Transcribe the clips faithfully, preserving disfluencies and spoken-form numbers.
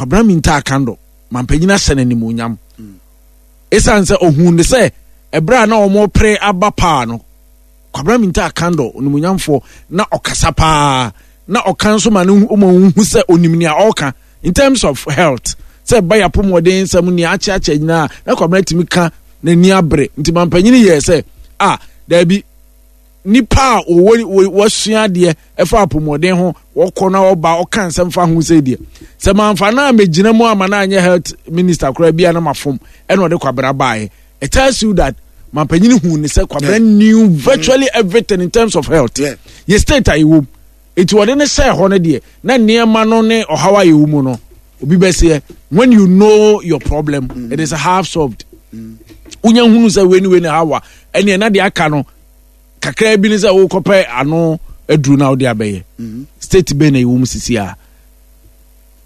Kwabena Mintah Akandoh, mampanyin ahyɛ no animuonyam ɛsiane sɛ ohun ne sɛ ɛberɛ a na wɔn pere aba paa no, Kwabena Mintah Akandoh onimonyamfoɔ na ɔkasa paa na ɔka nso ma no ma ohu sɛ onim nea ɔreka in terms of health, sɛ ɛba yɛ apɔmɔden nsɛm nea akyeakyea nyinaa na Kwabena tumi ka n'ani abere. Nti mampanyin yɛ sɛ a daabi, nipa a wɔwɔ wɔsua adeɛ ɛfa apɔmɔden ho, wɔkɔ na ɔba ɔka nsɛm fa ho sɛ deɛ sɛ manfa na megyina mu ama na anyɛ health minister koraa bi a na ma fom. Ɛna ɔde Kwabena baeɛ. It tells you that mampanyin hu ne sɛ Kwabena knew virtually everything in terms of health. Yeah. Yɛ state a yɛwɔ mu, eti wɔde ne hyɛ hɔ no deɛ, na nneɛma no ne ɔhaw a yɛwɔ mu no obi bɛseɛ, when you know your problem mm. it is half solved. Wonya hunu sɛ wei ne wei ne hawa, ɛneɛ na deɛ aka no kakra bi ne sɛ wokɔpɛ ano aduru na wode abɛyɛ. State bɛn na yɛwɔ mu sisi a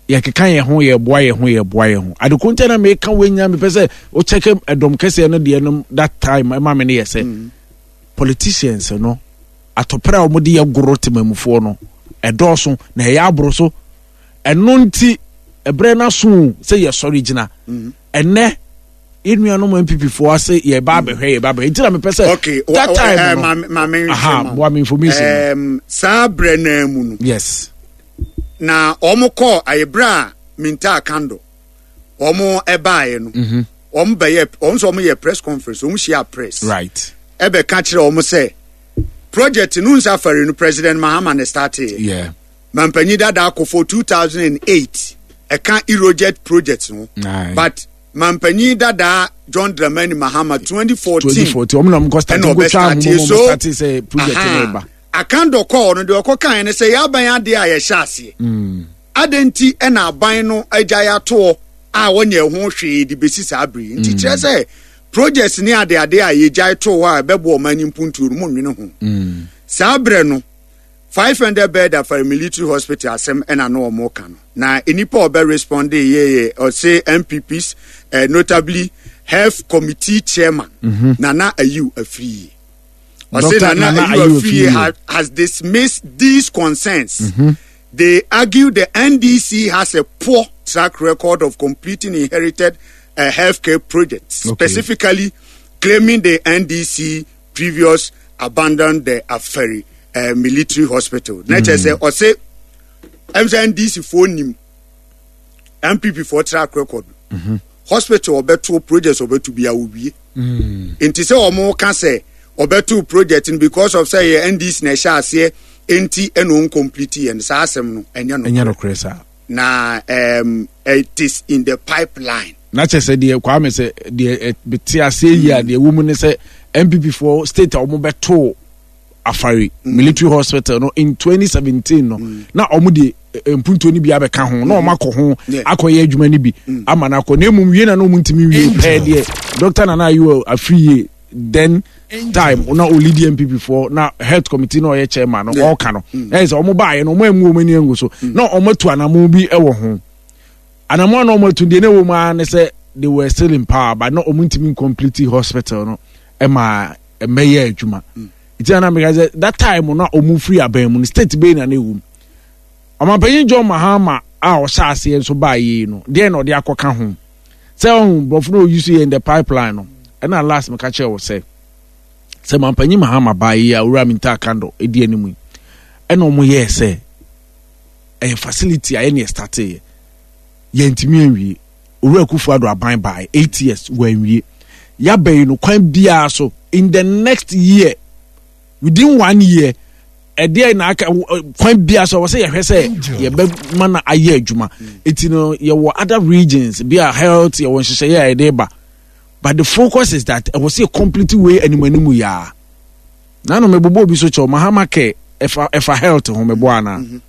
yɛkeka yɛn ho, yɛboa yɛn ho, yɛboa yɛn ho adeko nkyɛn na meka wei nya mepɛ sɛ wokyɛkɛ ɛdɔm kɛseɛ no deɛ no that time ɛma me no yɛ sɛ politicians no atɔpere a wɔde yɛ goro temamufoɔ no ɛdɔɔso na ɛyɛ aboro so. Ɛno nti ɛberɛ no aso sɛ yɛsɔre gyina. Ɛnɛ yɛn nuanom N P P foɔ ase yɛba abɛhwɛ, yɛba abɛhwɛ, nti na mepɛ sɛ okay that time no, maame. Aha, boa me information. um, saa berɛ naa mu no yes na wɔn kɔɔ ayɛberɛ a Mintah Akandoh wɔn ɛbaeɛ no, wɔn bɛyɛ wɔn nso wɔn yɛ press conference, wɔn hyia press right ɛbɛka kyerɛ wɔn sɛ project no nsa afari no, President Mahama ne start yɛ. Yeah mampanyin dada akɔ for two thousand and eight ɛka Euroget project no, Aye. but mampanyin dada John Dramani Mahama twenty fourteen twenty fourteen wɔn na wɔn kɔ start ɛna nkotwa ɔbɛ start. ahoma wɔn So start sɛ project no ba. Akandoh kɔɔ no deɛ, ɔkɔ kan ne sɛ yɛaban adeɛ a yɛhyɛ aseɛ adɛn nti ɛna aban no agya yɛatoɔ a wɔnyɛ ho hwee de bɛsi saa bere yi? Nti kyerɛ sɛ projects ne adeade a yɛgyae too hɔ a ɛbɛboa ɔman no mpuntuo no, mo nwene ho. Saa berɛ no, five hundred bed Afari Military Hospital asɛm ɛna na ɔmo ka no na nipa a ɔbɛ respond yɛ ɔse N P Ps, uh, notably health committee chairman Nana Ayiw Afriyie. Ɔse Doctor Nana Nana Ayiw Ayew Afriyie Afriyie. ha, has dismissed these concerns. They argue the N D C has a poor track record of completing inherited uh, healthcare projects, Okay. specifically claiming the N D C previous abandoned the Afari uh, Military Hospital. Na kyerɛ sɛ ɔse ɛm sɛ N D C foɔ nim N P P foɔ track record. Hospital ɔbɛto, projects ɔbɛto bi a owie. Nti sɛ ɔmo ka sɛ ɔbɛto project no because of sɛ yɛ N D C na ɛhyɛ aseɛ nti ɛna ɔn complete yɛ no, saa asɛm no ɛnyɛ no. Ɛnyɛ nokorɛ saa. Na um, it is in the pipeline. Na kyerɛ sɛ deɛ Kwame sɛ deɛ bete aseɛ yi a deɛ ɛwɔ mu ne sɛ N P P foɔ state a wɔn bɛto Afari Military Hospital no in twenty seventeen no, na wɔn de eh, mpuntuo no bi abɛka ho na wɔn akɔ ho Yeah. akɔyɛ adwuma no bi ama no akɔ, na emom wie na na wɔn ntumi wie pɛɛ deɛ Doctor Nana Ayew Afriyie then time na olidi N P P foɔ na health committee na ɔyɛ chairman no Yeah. ɔɔka no ɛyɛ sɛ wɔn baayɛ no, wɔn emu wɔn ani angu so na wɔn atu anamɔ bi wɔ ho. Anamɔ a na wɔn atu deɛ na ɛwɔ mu ara ne sɛ they were still in power, but na wɔn ntumi complete hospital no ɛma ɛmɛyɛ adwuma. Nti na meka sɛ that time na wɔn firi aban mu no, state bɛyi na na ɛwɔ mu. Ɔmanpanyin John Mahama a ɔhyɛ aseɛ nso baa yie no deɛ, na ɔde akɔka ho sɛ ɔhun borɔfo na oyi so yɛ in the pipeline no. Ɛna last meka kyerɛ wɔ sɛ sɛ mampanyin Mahama baa yi a Owura Mintah Akandoh edi anim yi, ɛna wɔn yɛɛ sɛ ɛyɛ facility a yɛne yɛ start yɛ, yɛntumi anwie. Owura Akufo Addo aban baa eight years wɔanwie. Yaba yi no, kwan biara so in the next year, within one year ɛdeɛ na aka kwan biara so wɔ sɛ yɛhwɛ sɛ yɛbɛma no ayɛ adwuma. Eti no yɛwɔ other regions bi a health yɛwɔ nhyehyɛeɛ a yɛde ba, but the focus is that ɛwɔ sɛ yɛ complete way anim anim yaa nanu mebobɔ obi so kyɛw Mahama kɛ ɛfa ɛfa health ho mebɔ ana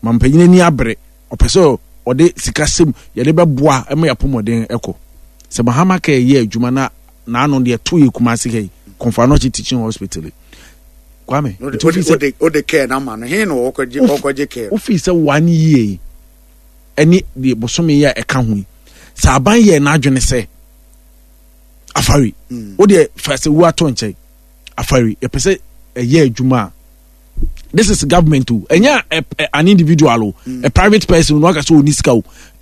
mampanyin ani abere, ɔpɛ sɛ ɔde sika sɛm yɛde bɛboa ɛma yɛapɔmɔden ɛkɔ sɛ Mahama kɛ yɛ adwuma na n'ano deɛ to yɛ Kumase ha yi, Komfo Anokye Teaching Hospital yi, Kwame. O de care na ma no hin na ɔkɔgye ɔkɔgye care. Wofi sɛ one year yi ɛne deɛ bosome yi a ɛka ho yi, sɛ aban yɛ n'adwene sɛ Afari o deɛ fa sɛ wu ato nkyɛn, Afari yɛpɛ sɛ ɛyɛ adwuma a, this is government o, ɛnyɛ an individual o, a private person no aka sɛ ɔni sika o.